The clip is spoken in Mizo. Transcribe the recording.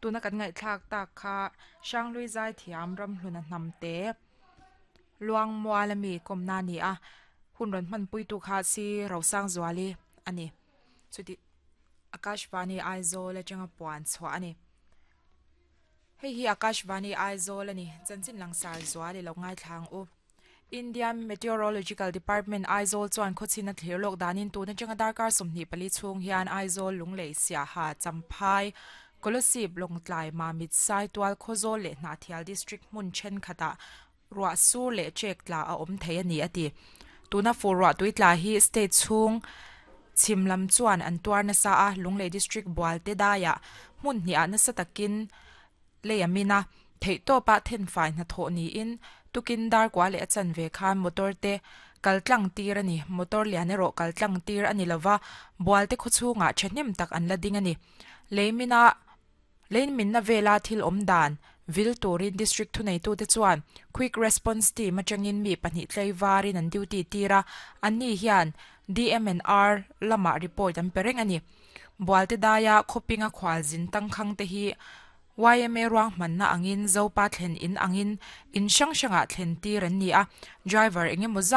Tuna kan ngaihthlak tak kha Hranghlui Zaithiam Ramhluna Hnamte Luangmual ami kawmna a ni a, hun rawn hmanpuitu kha si Rosangzuali a ni. Chuti Akashvani Aizawl atanga puan chhuah a ni. Hei hi Akashvani Aizawl a ni, chanchin langsar zual i lo ngaithla ang u. Indian Meteorological Department Aizawl chuan khawchhin a thlir lawk danin tun atanga darkar 24 chhung hian Aizawl, Lunglei, Siaha, Champhai, Kolasib, Lawngtlai, Mamit, Saitual, Khawzawl leh Hnahthial District hmun thenkhatah ruah sur leh chek tla a awm thei a ni a ti. Tuna fur ruah tui tla hi state chhung chhim lam chuan an tuar nasa a, Lunglei District Bualte daiah hmun hniah nasa takin Lei a min a, theihtawpa thenfai hnathawh niin tukin dar kua leh a chanve khan motor te kal tlang tir a ni. Motor lian erawh kal tlang tir a ni lova, Bualte khawchhungah thahnem tak an la ding a ni. Lei mina Lei minna vela thil awm dan vil turin District thuneitute chuan Quick Response Team atangin mi pahnih tlaivarin an duty tir a, anni hian DMNR lamah report an pe reng a ni. Bualte daia khawpinga khualzin tangkhang te hi yma ruanghmanna angin Zopa thlen in angin in hrang hrangah thlen tir an ni a, driver eng emaw zat.